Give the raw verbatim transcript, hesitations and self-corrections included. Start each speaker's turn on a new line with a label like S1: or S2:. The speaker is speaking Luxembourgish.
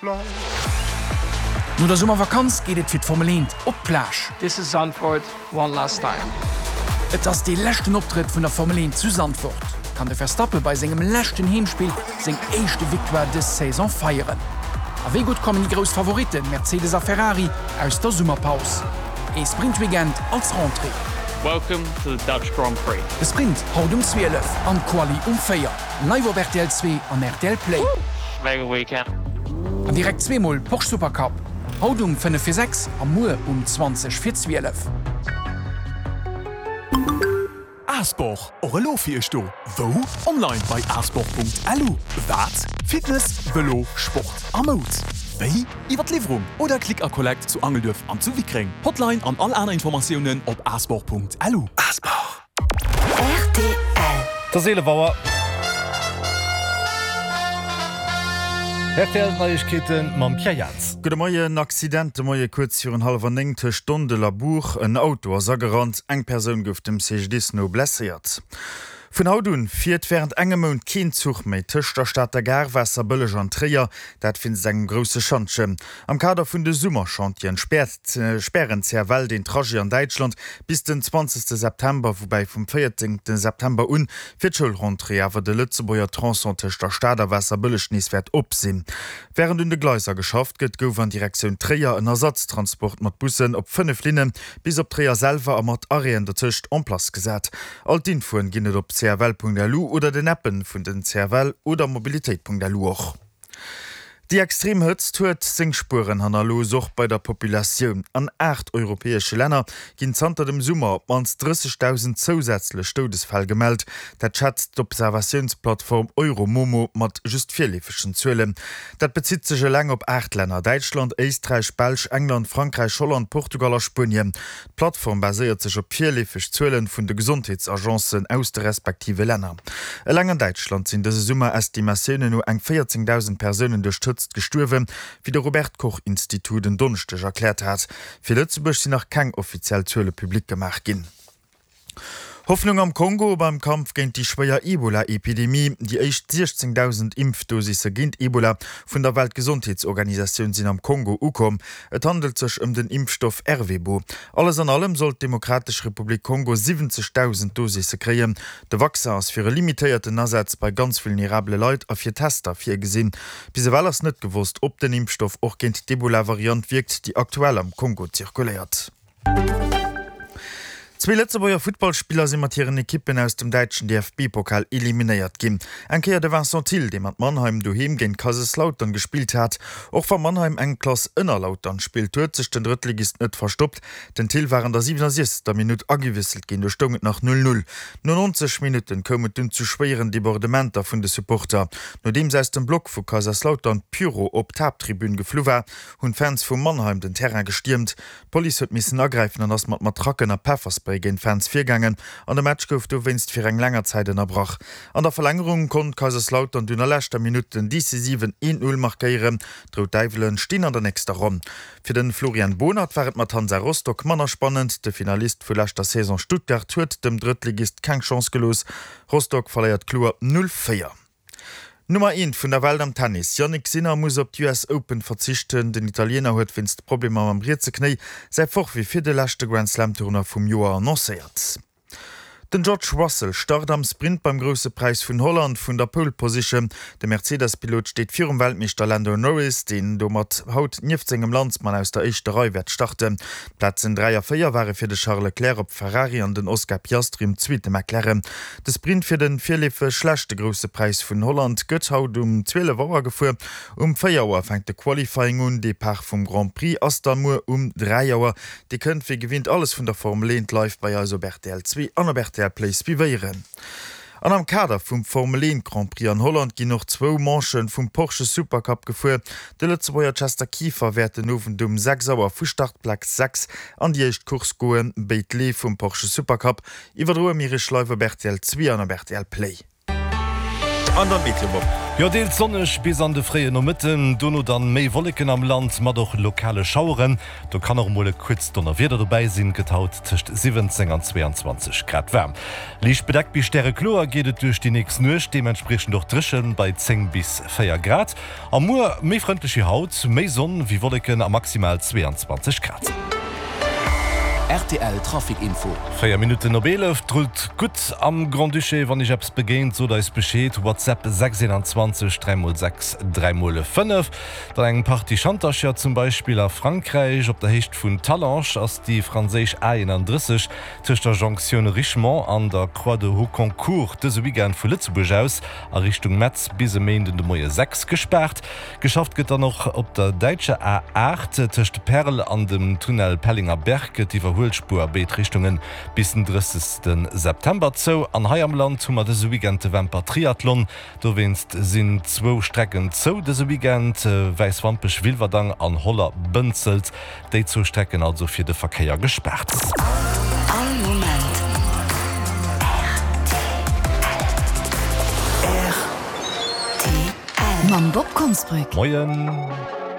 S1: No der Summervakanz geet et fir d'Formel eent op d'Plage.
S2: This is Zandvoort one last time.
S1: Et ass dee leschten Optrëtt vun der Formel eent zu Zandvoort. Kann de Verstappen bei sengem leschten Heemspill seng éischte Victoire dës Saison feieren? A wéi gutt kommen déi grouss Favoritten Mercedes a Ferrari aus der Summerpaus? Ee Sprint-Weekend als Rentrée.
S3: Welcome to the Dutch Grand Prix.
S1: De Sprint haut um zwielef an d'Quali um véier. Live op rtl zwee an rtl Play.
S3: Mega weekend.
S1: An direkt zweemol Porsche Supercup. Haut um fënnef vir sechs a muer um zwanzeg vir zwielef.
S4: Asport, och elo fir iech do. Wou? Online bei asport.lu. Wat? Fitness, Vëlo, Sport a Moud. Wéi? Iwwer d'Liwwerung oder Click a Collect zu Angelduerf an zu Wickreng. Hotline an all aner Informatiounen op asport.lu. Asport.
S5: Rtl.
S6: Et ass eelef Auer. Rtl Neiegkeete mam Pierre Jans.
S7: Gudde Moien. Accident de Moie kuerz virun hallwer néng tëscht Dondel a Buch. En Auto ass agerannt, eng Persoun gouf dem C G D I S no blesséiert. Vun haut un fiert wärend engem Mount keen Zuch méi tëscht der Stater Gare, Waasserbëlleg an Tréier, dat wéinst engem grousse Schantjen. Am Kader vun de Summerchantieren späert spären d'C F L den Trajet an Däitschland bis den zwanzegste September, woubäi vum véierzéngte September un fir d'Schoulrentrée awer de Lëtzebuerger Tronçon tëscht der Stad a Waasserbëlleg nees wäert op sinn. Wärend un de Gleiser geschafft gëtt, gouf an Direktioun Tréier en Ersatztransport mat Bussen op fënnef Linne bis op Tréier selwer a mat Arrêten dotëscht en place gesat. All d'Infoen ginn et op cfl Punkt L U oder den Appen vun den C F L oder Mobilitéit Punkt L U och. Déi extrem Hëtzt huet seng Spueren hannerlooss, och bei der Populatioun. An aacht europäesche Länner ginn zanter dem Summer op d'mannst drëssegdausend zousätzlech Doudesfäll gemellt. Dat schätzt d'Observatiounsplattform Euromomo mat just virleefegen Zuelen. Dat bezitt sech eleng op aacht Länner, Däitschland, Éisträich, Belsch, England, Frankräich, Holland, Portugal a Spuenien. D'Plattform baséiert sech op virleefeg Zuele vun de Gesondheetsagencen aus de respektive Länner. Eleng an Däitschland sinn dëse Summer Estimatiounen no eng véierzéngdausend Persounen duerch d'Hëtzt gestuerwen, wéi de Robert Koch Institut en Donneschdeg erkläert hat. Fir Lëtzebuerg sinn nach keng offiziell Zuele public gemaach ginn. Hoffnung am Kongo beim Kampf géint déi schwéier Ebola-Epidemie. Déi éischt siechzéngdausend Impfdosisse géint Ebola vun der Weltgesondheetsorganisatioun sinn am Kongo ukomm. Et handelt sech ëm den Impfstoff Ervebo. Alles an allem soll d'Demokratesch Republik Kongo siwwenzegdausend Dosisse kréien. De Vaccin ass fir e limitéierten Asaz bei ganz vulnerabele Leit a fir Tester virgesinn. Bis ewell ass net gewosst, ob den Impfstoff och géint d'Ebola-Variant wierkt, déi aktuell am Kongo zirkuléiert. Zwee Lëtzebuerger Futtballspiller si mat hiren Ekippen aus dem däitschen D F B-Pokal eliminéiert ginn. Eng Kéier de Vincent Thill, dee mat Mannheim doheem géint Kaiserslautern gespillt hat. Och wa Mannheim eng Klass ënner Lautern spillt, huet sech den Drëttligist net verstoppt. Den Thill war an der siwenundsechzegster. Minutt agewiesselt ginn, do stoung et nach null null. No neunzeg Minutten koum et dunn zu schwéieren Debordementer vun de Supporter. Nodeems aus dem Block vu Kaiserslautern Pyro op d'Haapttribün geflu war, hunn d'Fans vu Mannheim den Terrain gestiermt. D'Police huet missen agräifen an ass mat Matracken a Pefferspray géint d'Fans virgaangen an de Match gouf dowéinst fir eng länger Zäit ënnerbrach. An der Verlängerung konnt Kaiserslautern dunn a leschter Minutt den decisiven een Null markéieren. D'Rout Däiwele stinn an der nächster Ronn. Fir de Florian Bohnert war et mat Hansa Rostock manner spannend. De Finalist vu leschter Saison Stuttgart huet dem Drëttligist keng Chance gelooss. Rostock verléiert kloer null véier. Nummer eent vun der Welt am Tennis, Jannik Sinner, muss op d'U S Open verzichten. Den Italiener huet wéinst Problemer mam rietse Knéi säi Forfait fir de leschte Grand Slam Tournoi vum Joer annoncéiert. Den George Russell start am Sprint beim Grousse Präis vun Holland vun der Pole Position. De Mercedes-Pilot steet virum Weltmeeschter Lando Norris, deen domat haut nieft sengem Landsmann aus der éischter Rei wäert starten. D'Plazen dräi a véier ware fir de Charles Leclerc op Ferrari an den Oscar Piastri um zweete McLaren. De Sprint fir de virleefeg leschte Grousse Präis vun Holland gëtt haut um zwielef Auer gefuer. Um véier Auer fänkt de Qualifying un. Depart vum Grand Prix ass da muer um dräi Auer. Dir kënnt wéi gewinnt alles vun der Formel eent live bei eis op R T L zwee an op R T L Play suivéieren. An am Kader vum Formel eent Grand Prix an Holland ginn och zwou Manchen vum Porsche Supercup gefuer. De Lëtzebuerger Chester Kieffer wäert den Owend um sechs Auer vu Startplaz sechs an déi éischt Course goen. Béid Leef vum Porsche Supercup iwwerdroe mir iech live op R T L zwee an op R T L Play. An dann d'Meteo, Bob.
S6: Jo, deels sonneg bis an de fréien Nomëtten, dono dann méi Wolleken am Land mat och lokale Schaueren. Do kann och emol e kuerzt Donnerwieder dobäi sinn. Gëtt haut tëscht siwwenzéng an zweeanzwanzeg Grad waarm. Liicht bedeckt bis stärekloer geet et duerch déi nächst Nuecht, deementspriechend och dréchen bei zéng bis véier Grad. A muer méi frëndlech wéi haut, méi Sonn wéi Wolleken a maximal zweeanzwanzeg Grad.
S5: Rtl Trafic Info.
S6: Véier Minutten op eelef, 't rullt gutt am Grand-Duché. Wann iech eppes begéint, sot eis Bescheed, WhatsApp sechs eenanzwanzeg dräi mol sechs dräi mol fënnef. Dann eng Partie Schantercher, zum Beispill a Frankräich. Op der Héicht vun Talange ass déi franséisch A eenanddrësseg tëscht der Jonktioun Richemont an der Croix de Hocquincourt dëse Weekend vu Lëtzebuerg aus a Richtung Metz bis e Méinden de Moie sechs gespaart. Geschafft gëtt dann och op der däitscher A aacht tëscht Perl an dem Tunnel Pellingerberg gëtt d'Iwwerhuelspuer a béid Richtunge bis den drëssegste September zou. An hei am Land hu mer dëse Weekend de Wämper Triathlon. Dowéinst sinn zwou Strecken zou dëse Weekend, Wäiswampech, Wilwerdang an Holler, Bënzelt. Déi zwou Strecken also fir de Verkéier gespaart.
S8: All Moment rtl. Mam Bob Konsbrück.
S6: Moien.